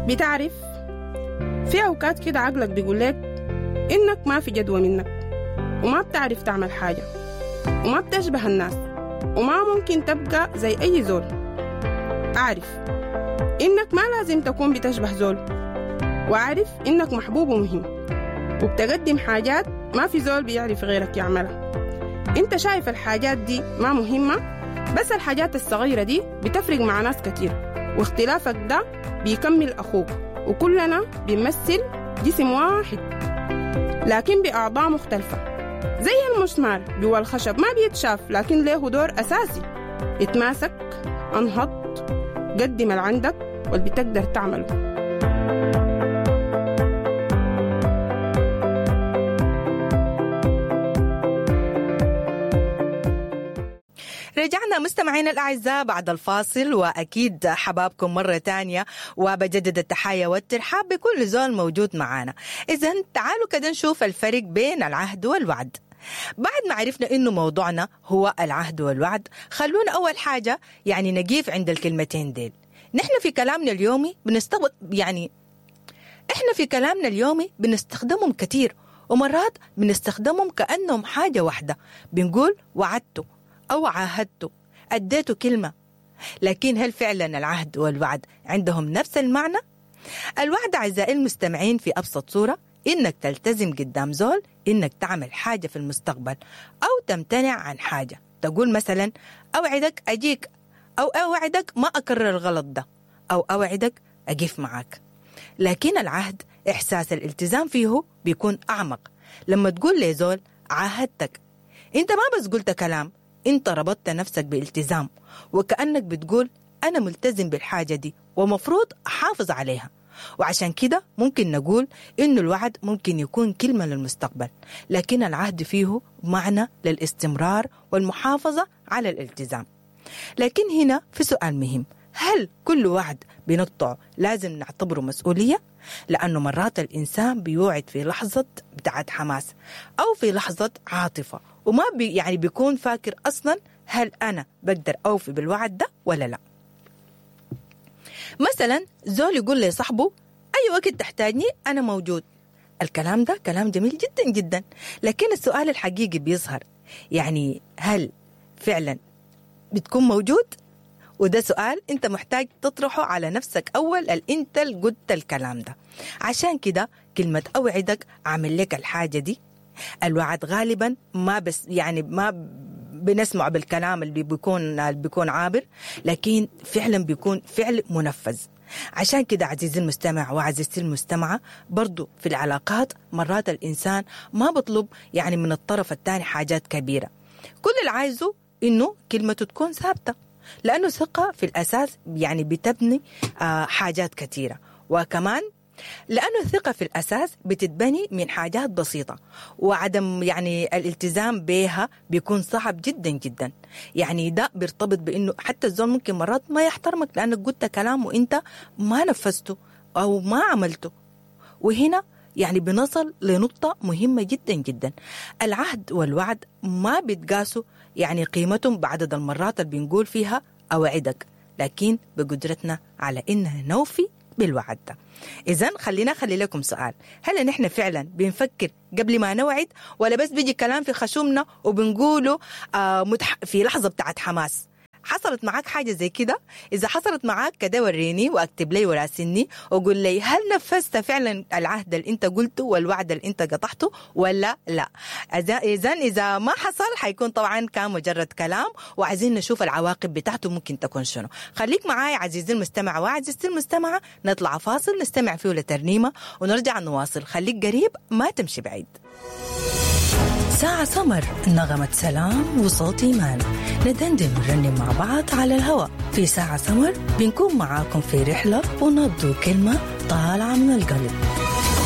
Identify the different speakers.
Speaker 1: بتعرف في أوقات كده عقلك بيقول لك إنك ما في جدوى منك، وما بتعرف تعمل حاجة، وما بتشبه الناس، وما ممكن تبقى زي أي زول. أعرف إنك ما لازم تكون بتشبه زول، وأعرف إنك محبوب ومهم، وبتقدم حاجات ما في زول بيعرف غيرك يعملها. انت شايف الحاجات دي ما مهمة، بس الحاجات الصغيرة دي بتفرق مع ناس كتير، واختلافك ده بيكمل أخوك، وكلنا بنمثل جسم واحد لكن بأعضاء مختلفة. زي المسمار جوا الخشب ما بيتشاف لكن له دور أساسي. اتماسك، انهض، قدم اللي عندك واللي بتقدر تعمله.
Speaker 2: رجعنا مستمعينا الأعزاء بعد الفاصل، وأكيد حبابكم مرة تانية، وبجدد التحية والترحاب بكل زول موجود معانا. إذن تعالوا كده نشوف الفرق بين العهد والوعد. بعد ما عرفنا إنه موضوعنا هو العهد والوعد، خلونا أول حاجة يعني نقيف عند الكلمتين ديل. نحن في كلامنا اليومي إحنا في كلامنا اليومي بنستخدمهم كتير، ومرات بنستخدمهم كأنهم حاجة واحدة. بنقول وعدته أو عاهدته، أديته كلمة. لكن هل فعلا العهد والوعد عندهم نفس المعنى؟ الوعد أعزائي المستمعين في أبسط صورة إنك تلتزم قدام زول إنك تعمل حاجة في المستقبل أو تمتنع عن حاجة. تقول مثلا أوعدك أجيك، أو أوعدك ما أكرر الغلط ده، أو أوعدك أقف معاك. لكن العهد إحساس الالتزام فيه بيكون أعمق. لما تقول لزول عاهدتك، أنت ما بس قلت كلام، انت ربطت نفسك بالتزام، وكأنك بتقول أنا ملتزم بالحاجة دي ومفروض أحافظ عليها. وعشان كده ممكن نقول إنه الوعد ممكن يكون كلمة للمستقبل، لكن العهد فيه معنى للاستمرار والمحافظة على الالتزام. لكن هنا في سؤال مهم، هل كل وعد بنقطعه لازم نعتبره مسؤولية؟ لأنه مرات الإنسان بيوعد في لحظة بتاعت حماس أو في لحظة عاطفة، وما يعني بيكون فاكر أصلا هل أنا بقدر أوفي بالوعد ده ولا لا. مثلا زول يقول لصاحبه أي وقت تحتاجني أنا موجود. الكلام ده كلام جميل جدا جدا، لكن السؤال الحقيقي بيظهر يعني هل فعلا بتكون موجود؟ وده سؤال أنت محتاج تطرحه على نفسك أول، أنت اللي قلت الكلام ده. عشان كده كلمة أوعدك أعمل لك الحاجة دي، الوعد غالبا ما بس يعني ما بنسمع بالكلام اللي بيكون عابر، لكن فعلا بيكون فعل منفذ. عشان كده عزيزي المستمع وعزيزتي المستمعة، برضو في العلاقات مرات الإنسان ما بطلب يعني من الطرف الثاني حاجات كبيرة، كل اللي عايزه إنه كلمته تكون ثابتة، لأنه ثقة في الأساس يعني بتبني حاجات كثيرة. وكمان لأنه الثقة في الأساس بتتبني من حاجات بسيطة، وعدم يعني الالتزام بها بيكون صعب جدا جدا. يعني ده بيرتبط بأنه حتى الزول ممكن مرات ما يحترمك لأنك قلت كلام وإنت ما نفذته أو ما عملته. وهنا يعني بنصل لنقطة مهمة جدا جدا، العهد والوعد ما بيتقاسوا يعني قيمتهم بعدد المرات اللي بنقول فيها أوعدك، لكن بقدرتنا على إنها نوفي بالوعد ده. إذن خلينا خلي لكم سؤال، هل نحن فعلا بنفكر قبل ما نوعد، ولا بس بيجي كلام في خشومنا وبنقوله في لحظة بتاعت حماس؟ حصلت معاك حاجة زي كده؟ إذا حصلت معاك كده وريني واكتب لي وراسلني وقول لي هل نفذت فعلا العهد اللي انت قلته والوعد اللي انت قطعته ولا لا. إذا ما حصل حيكون طبعا كان مجرد كلام، وعايزين نشوف العواقب بتاعته ممكن تكون شنو. خليك معاي عزيزي المستمع وعزيزتي المستمعة، نطلع فاصل نستمع فيه لترنيمة ونرجع نواصل. خليك قريب ما تمشي بعيد.
Speaker 3: ساعة سمر، نغمة سلام وصوت إيمان، ندندن ونرنم مع بعض على الهواء في ساعة سمر. بنكون معاكم في رحلة ونبض كلمة طالعة من القلب.